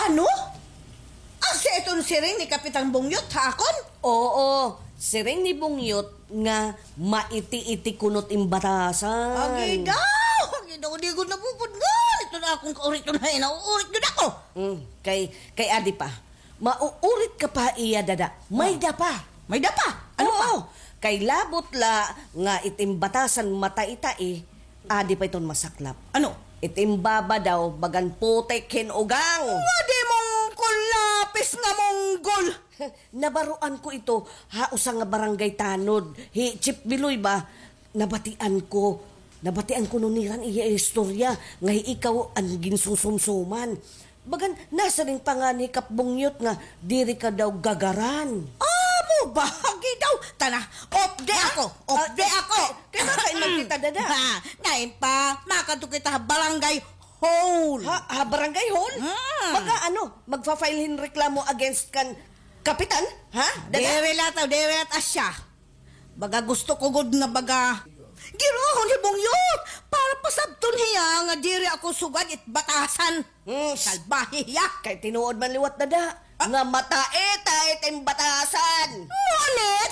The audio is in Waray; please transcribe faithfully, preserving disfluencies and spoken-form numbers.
Ano? Asya iton siring ni Kapitan Bungyot ha akon? Oo, siring ni Bungyot nga maiti-iti kuno it im batasan. Agi daw! Agi daw, di gud napupudngan iton akon kaurit-on ha iya, nauurit gud ako. Mm, kay, kay adi pa. Mauurit ka pa ha iya, dada. May-ada pa. May-ada pa? Ano pa? Oo. Kay labot la nga it im batasan matai-tai, adi pa iton masaklap. Ano? It im baba daw, bagan putik hin ugang. Wa, di mungkol lapis nga munggol. Nabaroan ko ito ha usa nga barangay tanod. Hi Chief Biloy ba? Nabatian ko. Nabatian ko nira an iya istorya nga hi ikaw an ginsusumsuman. Bagan, nasiring pa ngani hi Kap Bungyot nga diri ka daw gagaran. Amo ba? Agi daw. Tana, off day ako. Off day ako. Kay, kay baka in magkita, dada. Ha, nain pa, makadto kita ha barangay hall. Ha, ha barangay hall? Mm. Baga ano, magfa-file hin reklamo against kan kapitan? Ha, dada? Diri la ta, diri la ta siya. Baga gusto ko gud nga baga giruhon hi Bungyot para pasabton hiya nga diri ako sugad it batasan. Hmm. Salbahe hiya. Kay tinuod man liwat, dada, nga matai-tai it im batasan. Ngunit,